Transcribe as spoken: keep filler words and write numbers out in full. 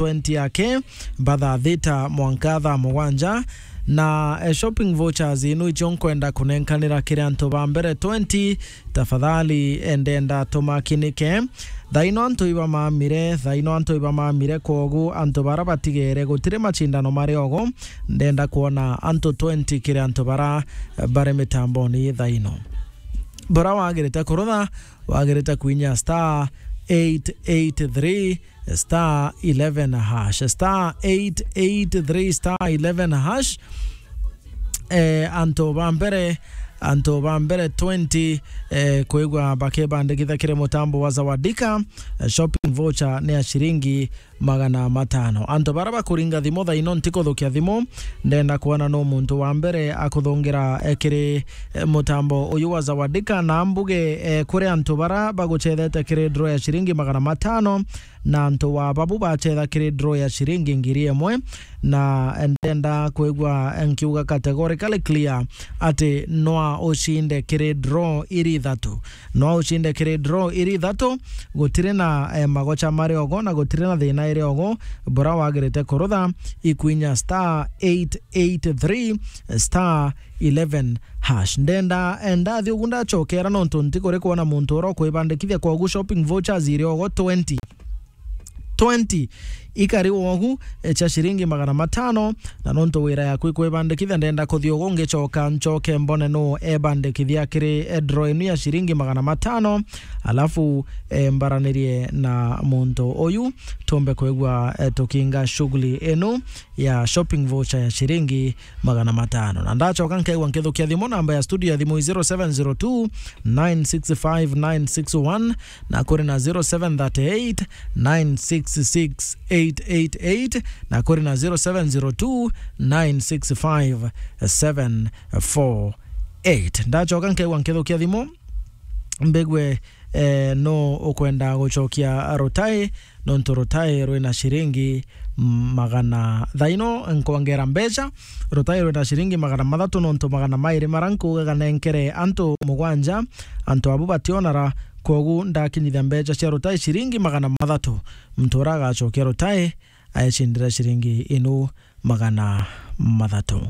twenty ake, ba thaa thita mwanka thaa mugwanja. Na, eh, shopping vouchers inu icio nkwenda kunenkanira kiri antu ba mbere twenty, tafadhali, eh, ndenda tumakinike. Thaino antu ibamamire, thaino antu ibamamire, kwogu antu bara batigere, gutiri macindano mari ogo, ndenda kwona antu twenty kiri antu bara, eh, bari mitamboni thaino. Bura wagirite kurutha, wagirite kwinya star eight eight three star eleven hash, star eight eight three star eleven hash. Eh, antu ba mbere, antu ba mbere twenty, eh, kwigua bakibandikithia kiri mutambo wa Zawadika, eh, shopping voucher ni ya ciringi magana matano. Antu bara bakuringa thimu thaino, ntikuthukia thimu, ndenda kwona no muntu wa mbere akuthungira, eh, kiri, eh, mutambo uyu wa Zawadika, na mbuge, eh, kuri antu bara bagucethete kiri draw ya ciringi magana matano, na antu wa babu bacetha kiri draw ya ciringi ngiri imwe, na ndenda kwigua nkiuga categorically clear ati nwa ucinde kiri draw iri ithatu. Nwa ucinde kiri draw iri ithatu, gutiri na, eh, magocha mari ogo na gutiri na thina iri ogo. Bura wagirite kurutha, ikwinya star eight eight three star eleven hash. Ndenda, eh, ndathi ugu ndachokera nontu ntikuri kwona muntu ura ukwibandikithia, kwogu shopping vouchers iri ogo twenty. Twenty ikari wogu, eh, cha ciringi magana matano, na nontu wira yaku ikwibandikithia, ndenda kuthi ugu ngichoka nchoke mbone nu ebandikithia kiri, eh, draw inu ya ciringi magana matano, alafu, eh, mbaranirie na muntu uyu tumbe kwigua, eh, tukinga shughuli inu ya shopping voucher ya ciringi magana matano. Na ndachoka nkaigua nkithukia thimu, namba ya studio ya thimu i zero seven zero two nine six five nine six one, na kuri na zero seven thirty eight nine six six eight eight eight, na kuri na zero seven zero two nine six five seven four eight. Ndachoka nkaigua nkithukia thimu, mbigwe, eh, no ukwenda guchokia rutai, nontu rutai rwina ciringi magana, thaino nkwongera mbecha, rutai rwina ciringi magana mathatu, nontu magana mairi mara nkugaga nenkere antu mugwanja, antu abu bationara, kwogu ndakinyithia mbecha cia rutai ciringi magana mathatu. Muntu ura agachokia rutai aecindira ciringi inu magana mathatu.